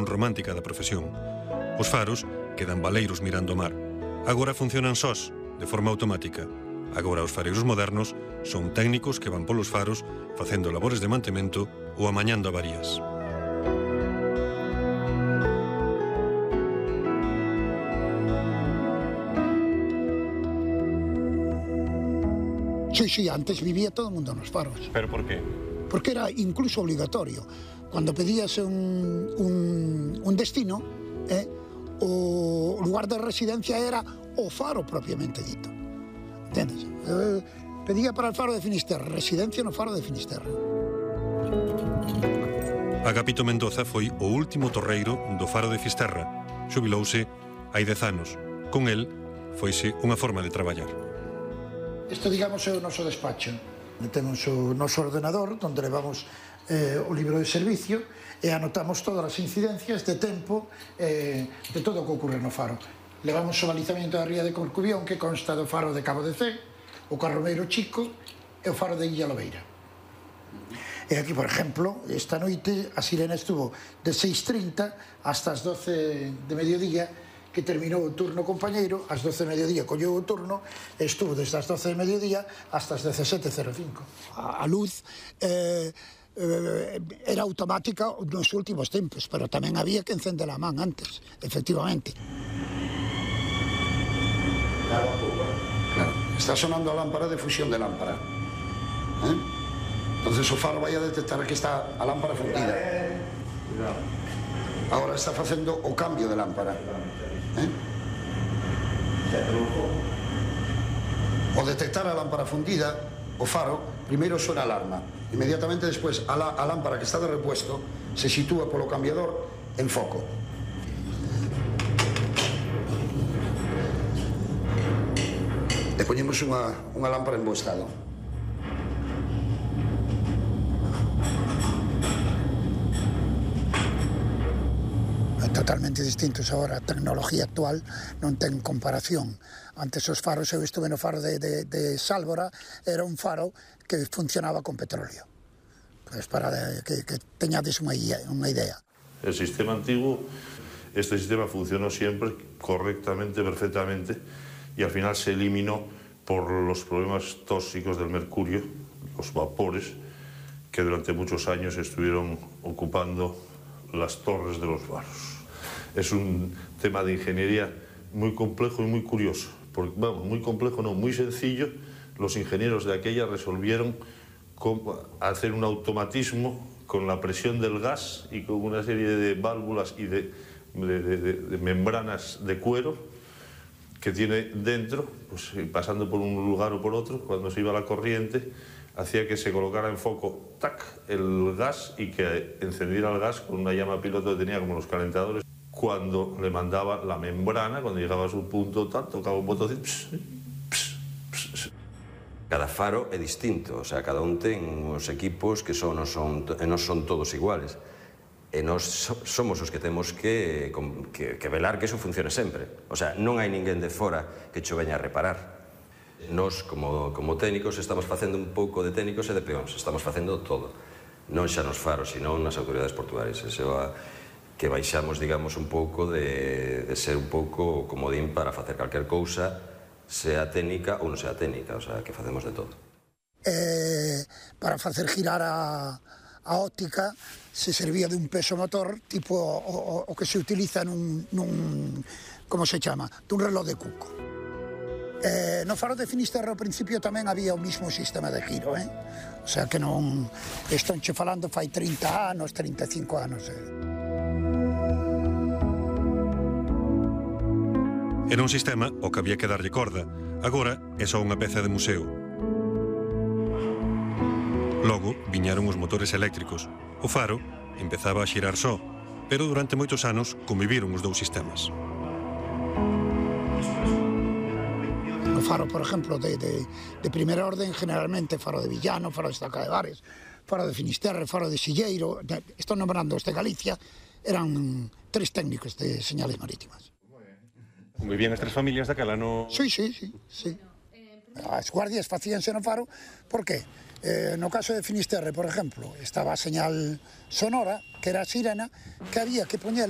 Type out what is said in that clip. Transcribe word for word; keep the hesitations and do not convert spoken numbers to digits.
romántica da profesión. Os faros quedan baleiros mirando o mar. Agora funcionan sós, de forma automática. Agora os fareiros modernos son técnicos que van polos faros facendo labores de mantemento ou amañando avarías. Sí, sí, antes vivía todo o mundo nos faros. ¿Pero por qué? Porque era incluso obligatorio. Cuando pedías un, un, un destino, eh, o lugar de residencia era o faro propiamente dito. Entendes? Eh, pedía para el faro de Finisterre, residencia no faro de Finisterre. Agapito Mendoza foi o último torreiro do faro de Fisterra. Xubilouse hai dez anos. Con el, foise unha forma de traballar. Isto, digamos, é o noso despacho. Temos o noso ordenador, onde levamos eh, o libro de servicio e anotamos todas as incidencias de tempo eh, de todo o que ocurre no faro. Levamos o balizamento da ría de Corcubión, que consta do faro de Cabo de Cee, o Carromeiro Chico e o faro de Illa Lobeira. E aquí, por exemplo, esta noite a sirena estuvo de seis trinta hasta as doce de mediodía, que terminou o turno compañeiro, ás doce de mediodía colleu o turno, e estuvo desde as doce de mediodía hasta as dezasete cero cinco. A, a luz eh, eh, era automática nos últimos tempos, pero tamén había que encender a man antes, efectivamente. Claro, está sonando a lámpara de fusión de lámpara. ¿Eh? Entonces o faro vai a detectar que está a lámpara fundida. Agora está facendo o cambio de lámpara. ¿Eh? O detectar a lámpara fundida, o faro, primeiro suena alarma. Inmediatamente despois, a, la, a lámpara que está de repuesto se sitúa polo cambiador en foco. E poñemos unha, unha lámpara en bo estado. Totalmente distintos agora. A tecnología actual non ten comparación. Antes os faros, eu estuve no faro de, de, de Sálvora, era un faro que funcionaba con petróleo. Pues para que, que teñades unha idea. El sistema antiguo, este sistema funcionó siempre correctamente, perfectamente, y al final se eliminó por los problemas tóxicos del mercurio, los vapores, que durante muchos años estuvieron ocupando las torres de los faros. Es un tema de ingeniería muy complejo y muy curioso. Porque, vamos, muy complejo no, muy sencillo. Los ingenieros de aquella resolvieron cómo hacer un automatismo con la presión del gas y con una serie de válvulas y de, de, de, de membranas de cuero que tiene dentro, pues, pasando por un lugar o por otro, cuando se iba la corriente, hacía que se colocara en foco tac, el gas y que encendiera el gas con una llama piloto que tenía como los calentadores. Cuando le mandaba la membrana, cuando llegaba a su punto tal, tocaba un botoncito. Pss, pss, pss. Cada faro é distinto, o sea, cada un ten os equipos que son, non son, non son todos iguales. E nós somos os que temos que, que, que velar que eso funcione sempre. O sea, non hai ninguén de fora que cho veña a reparar. Nós, como, como técnicos, estamos facendo un pouco de técnicos e de peóns. Estamos facendo todo. Non xa nos faros, sino nas autoridades portuarias. Eso a, que baixamos, digamos, un pouco de, de ser un pouco comodín para facer calquer cousa, sea técnica ou non sea técnica. O sea, que facemos de todo. Eh, para facer girar a, a óptica se servía de un peso motor tipo o, o, o que se utiliza nun, nun como se chama, dun reloj de cuco. Eh, no faro de Finisterre ao principio tamén había o mismo sistema de giro, eh? O sea que non, estou che falando fai trinta anos, trinta e cinco anos. Eh. Era un sistema ao que había que darlle corda. Agora é só unha peza de museo. Logo viñaron os motores eléctricos. O faro empezaba a xirar só, pero durante moitos anos conviviron os dous sistemas. O faro, por exemplo, de, de, de primeira orden, generalmente faro de Villano, faro de Estaca de Bares, faro de Finisterre, faro de Silleiro, estou nombrando os de Galicia, eran tres técnicos de señales marítimas. Convivían as tres familias daquela, no... Sí, sí, sí, sí. As guardias facíanse no faro, por qué? Eh, no caso de Finisterre, por exemplo, estaba a señal sonora, que era a sirena, que había que poñela